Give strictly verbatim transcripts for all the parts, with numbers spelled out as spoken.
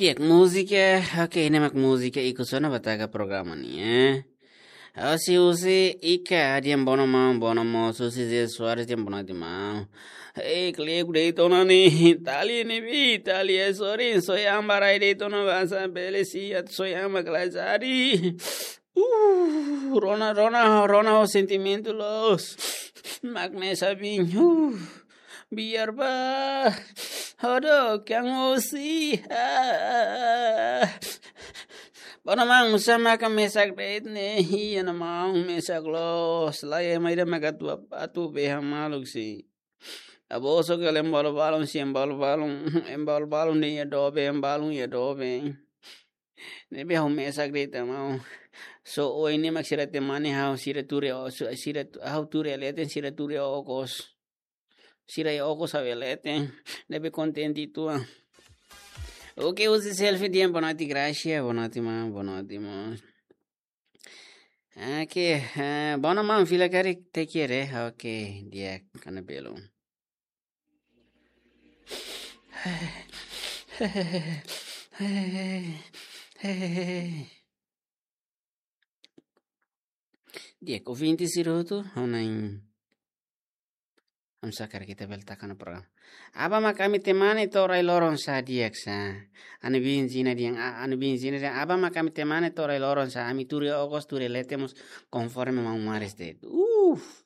Di'ak, múzika, oke, ne'e mak múzika ikus ona ba taka programa nian, eh. Husi, husi Ika, di'ak, boa noite maun, boa noite maun, husi Zé Soares, di'ak, boa noite maun. Eh, klek de'it ona ne'e, tali ne'ebé, tali é sorin, soin ba rai de'it ona basa bele si, atu soin ba kalai sari. Uh, rona, rona, rona ho sentimentu loos. Mak mesak biin, uh, biar ba. Hodo, kian osi. Ah. Boa noite maun, sá maka mesak de'it ne'e, iha ne'e maun, mesak loos. Lae, ema ida maka atu, atu beha maluk si. Abo so kele embalo balun si, embalo balun, embalo balun ne'e iha doben, embalo iha doben. Ne'ebé ha'u mesak de'it maun. So, oin ne'e mak sira temane ha'u, sira tuur iha o-, su-, sira tu-, ha'u tuur iha leten, sira tuur iha okos. Sira iha okos ha'u iha leten. Ne'ebé kontente uitoan. Oke, husi Selfie di'ak, boa noite Gracia, boa noite maun, boa noite maun. Oke, eh, boa noite maun, fila karik te kere. Oke, di'ak, kana belun. Di'ak, ouvinte sira hotu, ha'u na'in, ha'u sá karik ita bele taka ona programa. Aban mak ami temane to'o rai-loron sá, di'ak sá. Ami-nia biin Zina dehan, a-, ami-nia biin Zina dehan, aban mak ami temane to'o rai-loron sá, ami tuur iha okos, tuur iha leten mós konforme maun Maris de'it. Uf.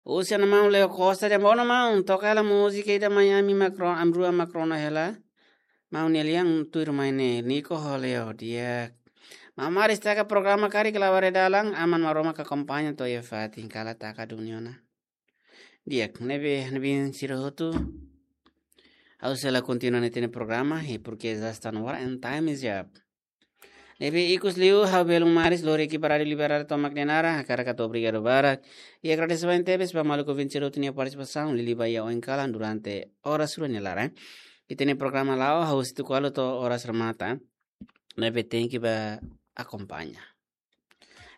Husi ha'u-nia maun Leo Costa dehan, boa noite maun, toka hela múzika ida mai ami mak rona, ami rua mak rona hela. Maun nia lian tuirmai ne'e, Nico ho Leo, di'ak. Maun Maris taka programa karik la'o ba rai-dalan, Aman Maromak akompaña to'o iha fatin, kala taka duni ona. Di'ak, ne'ebé, ne'ebé sira hotu. Ha'u sei la kontinua ita-nia programa, e porque já está na hora and time is up. Ne'ebé ikus liu, ha'u belun Maris, lori ekipa Rádiu Liberdade tomak nia naran, hakarak hato'o obrigadu barak. I agradese barak tebes ba maluk ouvinte sira hotu nia partisipasaun, liuliu ba iha oin kalan durante oras rua nia laran. Ita-nia programa la'o, husi tuku ualu to'o oras remata. Ne'ebé tenke ba akompaña.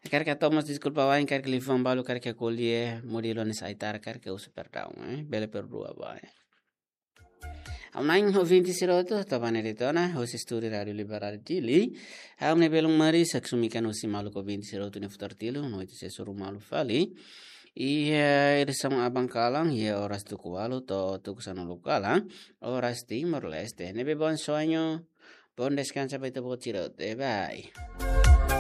Hakarak hato'o mós deskulpa wa'in, karik liafuan balu karik ko'alia, modelu ne'e sai tarde, karik husu perdaun, eh? Bele perdua wa'in. Ha'u na'in ouvinte sira hotu, to'o ba ne'e de'it ona, husi estúdiu Rádiu Liberdade Dili. Ha'u-nia belun Maris, haksolok mai husi maluk ouvinte sira hotu nia futar tilun, noite sira hotu malu fali. Iha, eh, edisaun aban kalan, iha oras tuku ualu to'o tuku sanulu kalan, oras Timor-Leste. Ne'ebé bom sonho, bom descanso ba ita-boot sira hotu. Bye.